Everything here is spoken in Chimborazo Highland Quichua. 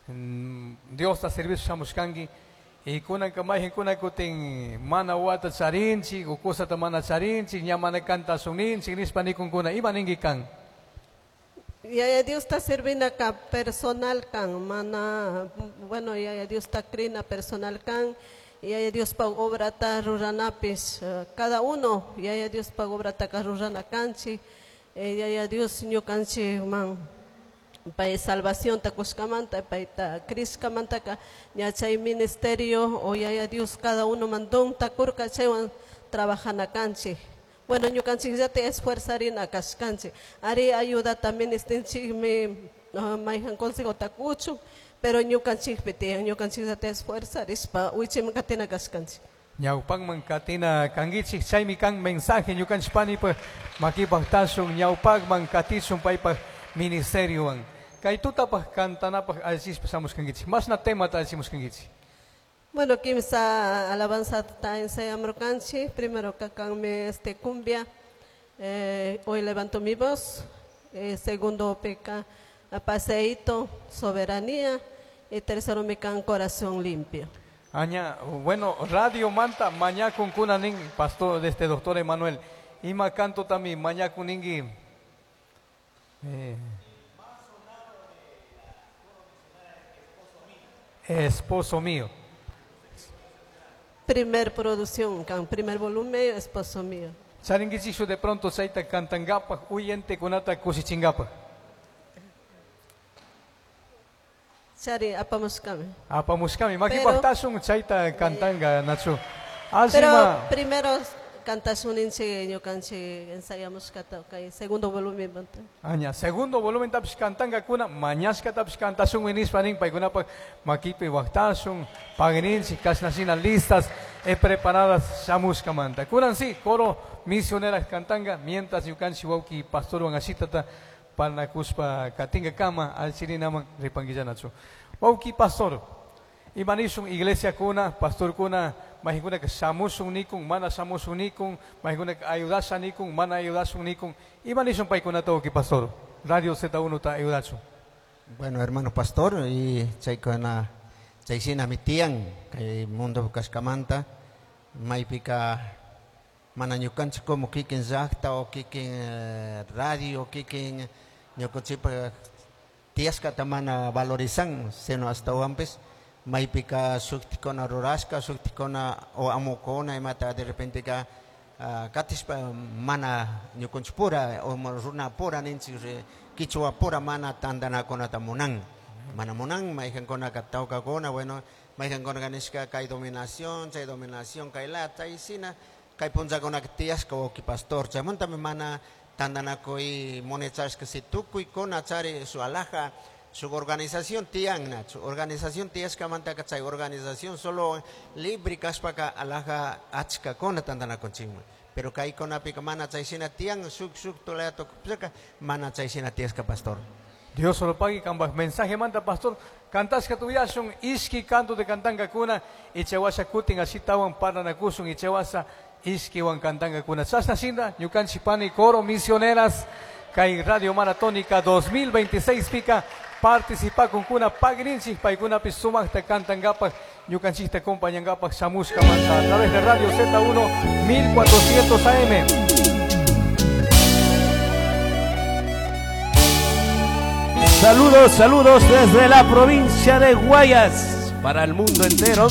Diosta servicio shamushkanki y kunanka mayqinkuna kutin mana wata charinchik o cosata mana charinchik ña mana kantashunninchik nishpa nikunkuna ima ninki kan? Yaya Diosta servinaka personal kan, mana, bueno, Yaya Diosta crina personal kan, Yaya Diospa obrata ruranapish, cada uno Yaya Diospa obrataka rurana kanchik, Yaya Dios ñukanchikman pay salvacionta kushkamanta, payta crishkamantaka ña chay ministerio o Yaya Dios cada uno man donta kurka chaywan trabajana kanchik. Bueno, ñukanchikllata esfuerzarina kashkanchik. Ari ayudata ministinchikmi mayhan consejota kuchun, pero ñukanchikpi tiyan, ñukanchikllata esfuerzarishpa wichiman katina kashkanchik. Ñawpakman katina kankichik, chaymi kan mensaje ñukanchik panipaj makipaj tashun, ñawpakman katishun paypaj ministeriowan. Kay tutapaj kantanapaj allichispa shamushkankichik. Mashna temata allichimushkankichik? Bueno, kimsa alabanza ta ensayamurkanchik. Primero kakanmi cumbia, hoy levanto mi voz. Segundo peca paseíto, soberanía. Y tercero mi can corazón limpio. Aña, bueno, Radio Manta, mañakun kunanin, pastor de este doctor Emanuel. Ima canto también, mañakun ningui. Esposo mío. Primer producción, can, primer volumen, esposo mío. Charinguichishu de pronto chaita cantangapa, huyente kunata kusichingapa. Chari, apamushkami. Apamushkami, maki Pero paktashun chaita cantanga, Nacho. Pero Asima. primero cantashun inchi, ñukanchi ensayamushkata, okay, segundo volumen, banta. Aña, segundo volumen tapish cantanga kuna, mañashka tapish cantashun winispa nin, paykunapa makipi waqtashun, pagninchi, kashnashina listas, preparadas shamushkamanta. Kunan sí, coro misioneras cantanga, mientras ñukanchi wawki pastorwan ashitata parlakuspa katinga kama, alchirinaman ripanguillanachu. Wawki pastor, imanishun iglesia kuna, pastor kuna, mahikuna que shamushun nikun, mana shamushun nikun, mahikuna que ayudasha nikun, mana ayudashun nikun, imanishun paykunata wawki pastor, Radio Z1 ta ayudachu. Bueno, hermano pastor, y chaykuna, chaysina mi tiyan, kay mundo kashkamanta, maypika mana ñukanchik como kikin llaqta o kikin radio, kikin ñukanchikpa tiyashkata mana valorizan, sino hasta wampis maypika shuktikuna rurashka, shuktikuna o amukuna imata de repente ka, katishpa mana ñukanchikpura o runapura ninchik, kichwapura mana tantanakunata munan. Mana munan, mayqankunaka tawkakuna, bueno, mayqankunaka nishka kay dominación, chay dominación kay la, chay sina, kay punllakunaka tiyashka wawqi pastor, chaymantami mana tantanakuy munachashka si tukuykuna chari su alhaja, su organización tiyan, su organización tiyashkamantaka chay organización solo libre kashpaka alhaja achkakuna tantanakunchikman. Pero kaykunapika mana chay shina tiyan, shuk shuk tulaya tukupishka, mana chay shina tiyashka pastor. Dios solo pague kambaj mensaje manta pastor. Kantashka tuyashun ishki canto de kantanga kuna, ichawasha kutin ashitawan paranakusun, ichawasha ishkiwan kantanga kuna. Chashna shinda, ñukanchik pani coro misioneras, kay Radio Maratónica 2026 pica, participa con kuna pagrinchik, paykunapi sumaqta kantangapaj, ñukanchikta acompañangapaj shamushka manta a través de Radio Z1 1400 AM. Saludos, saludos desde la provincia de Guayas para el mundo entero.